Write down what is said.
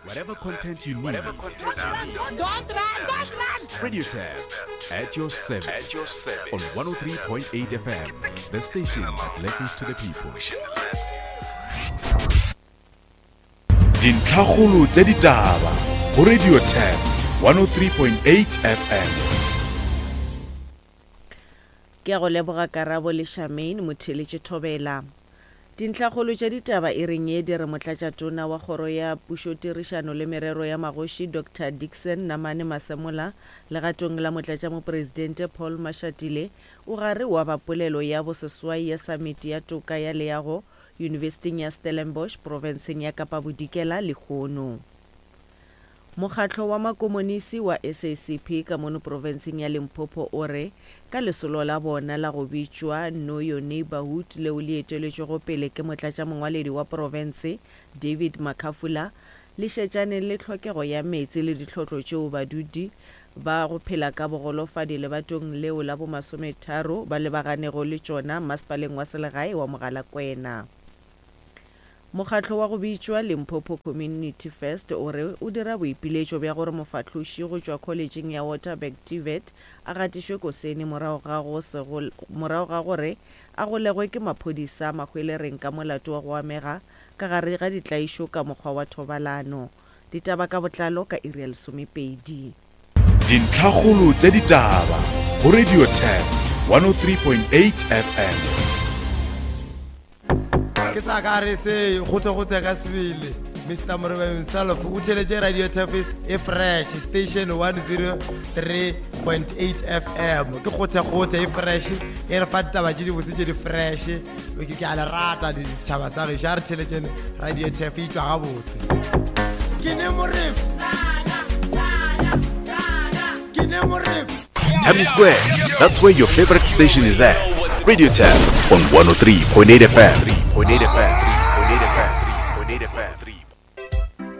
Whatever content you need. Don't run, don't run! Radio Tab at your service. At your service. On 103.8 FM, the station that listens to the people. Dintlhakgolo tša ditaba go Radio Tab 103.8 FM. Ke a go leboga Karabo le Charmaine Motheeletše Thobela. Dintlhakgolo tša ditaba e reng ye di re Motlatšatona wa Kgoro ya Pušotirišano le Merero ya Magoši Doctor Dickson Namane Masemola legatong la Motlatšamopresidente Paul Mashatile o gare wa ba polelo ya boseswai ya Samiti ya Toka ya Leago Yunibesiting ya Stellenbosch profenseng ya Kapa Bodikela lehono. Mokgatlo wa Makomonisi wa SACP ka mono profenseng ya Limpopo o re ka lesolo la bona la go bitšwa Know Your Neighbourhood leo le eteletšwego pele ke motlatšamongwaledi wa profense David Makhafula le šetšane le tlhokego ya meetse le ditlhotlo tšeo badudi ba go phela ka bogolofadi lebatong leo la bomasometharo ba lebaganego le tšona masepaleng wa selegae wa Mogalakwena. Mokgatlo wa go bitšwa Limpopo Community First o re o dira boipiletšo bja gore mofahloši go tšwa kholetšeng ya Waterberg TVET a gatišwe kosene morago ga go se morago ga gore a golegwe ke maphodisa Mahwelereng ka molato wa go amega ka gare ga ditlaišo ka mokgwa wa thobalano. Ditaba ka botlalo ka iri ya lesomepedi. Dintlhakgolo tša ditaba go Radio Turf 103.8 FM. Ke sa ka re se gote gote ka sebele Mr Moreba himself o theletše Radio Turf e fresh station 103.8 FM ke gote gote e fresh e re fa ditaba tše dibotse tše di fresh ke a le rata setšhaba sa gešo a re theletšene radio tef e tšwa gabotse ke ne morep ke ne morep Tammy Square, that's where your favorite station is at. Radio Tab on 103.8 FM. 3.8 FM.